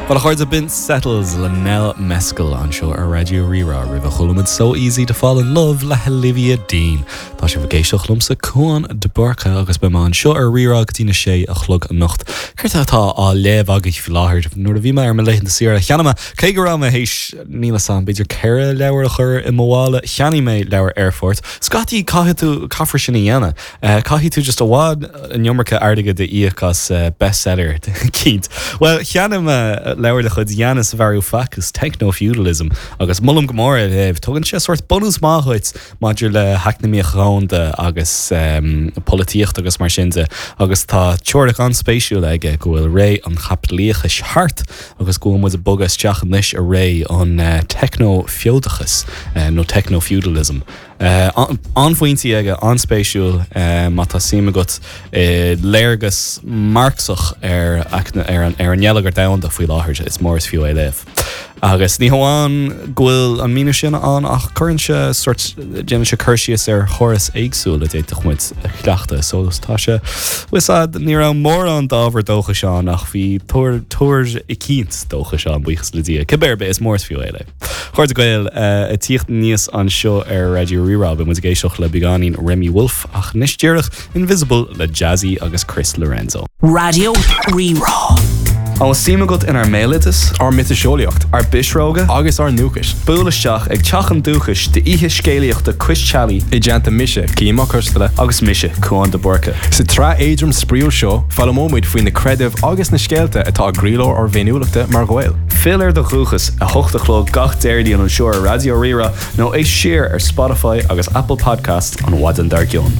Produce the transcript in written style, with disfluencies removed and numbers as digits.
Bhuel a chairde, b'in Settles le Nell Mescal anseo ar Raidió Rí-Rá roimhe chuala muid So Easy to Fall in Love le hOlivia Dean. Tá sibh ag éisteacht liomsa Cúán de Búrca agus beidh mé anseo ar Rí-Rá go dtí na sé a chlog anocht. Céard atá á léamh agaibh faoi láthair? Nuair a bhí mé ar mo laethanta saoire cheannaigh mé, cé go raibh mé théis, níl 'fhios a'm, b'fhéidir 4 leabhar a chur i mo mhála, cheannaigh mé leabhar aerfoirt. Scaití caithfidh tú, caithfear sin a dhéanamh. Caithfidh tú just i bhfad an iomarca airgid a íoc as bestseller eicínt. Bhuel, cheannaigh mé leabhar de chuid Yanis Varoufakis, Techno-Feudalism, agus molaim go mór é a léamh. Tugann sé sórt bunús maith dhuit maidir le heacnamaíocht dhomhanda agus polaitíocht agus mar sin de, agus tá teoiric an-spéisiúil aige go bhfuil ré an chaipitlíochais thart agus go bhfuil muid ag bogadh isteach anois i ré an teicnea-fheodachais nó techno-feudalism. An-phointí aige, an-spéisiúil má tá suim agat i léargas Marxach ar ar an ngeilleagar domhanda faoi láthair, is mór is fiú é a léamh. Agus ní hamháin go bhfuil an míniú sin ann ach cuireann sé sórt, déanann sé cur síos ar chóras éagsúil a d'fhéadfadh muid a chleachtadh. So tá sé, bhfuil 'fhios a'd, ní raibh mórán d'ábhar dóchais ann ach bhí tuar, tuar eicínt dóchais ann, buíochas le Dia. Cibé ar bith, is mór is fiú é a léamh. Cairde Gael, ag tíocht aníos anseo ar Raidió Rí-Rá, beidh muid ag éisteacht le beagáinín Remi Wolf, ach anois díreach, Invisible le Jazzy agus Chris Lorenzo. Raidió Rí-Rá. An bhfuil suim agat inár mbéaloideas? Ár miotaseolaíocht? Ár bpisreoga? Agus ár ndúchais? Buail isteach ag Teach an Dúchais d'oíche scéalaíochta cois teallaigh. I dteannta mise, Cian Mac Coisteala. Agus mise, Cúán de Búrca. Sa tsraith éadrom spraíúil seo, foghlaimeoidh muid faoi na creidimh agus na scéalta atá i gcroílár ár bhféiniúlachta mar Ghaeil. Fill ar do dhúchas, 8 a chlog gach Déardaoin anseo ar Raidió Rí-Rá nó éist siar ar Spotify agus Apple Podcasts an mhaidin dár gcionn.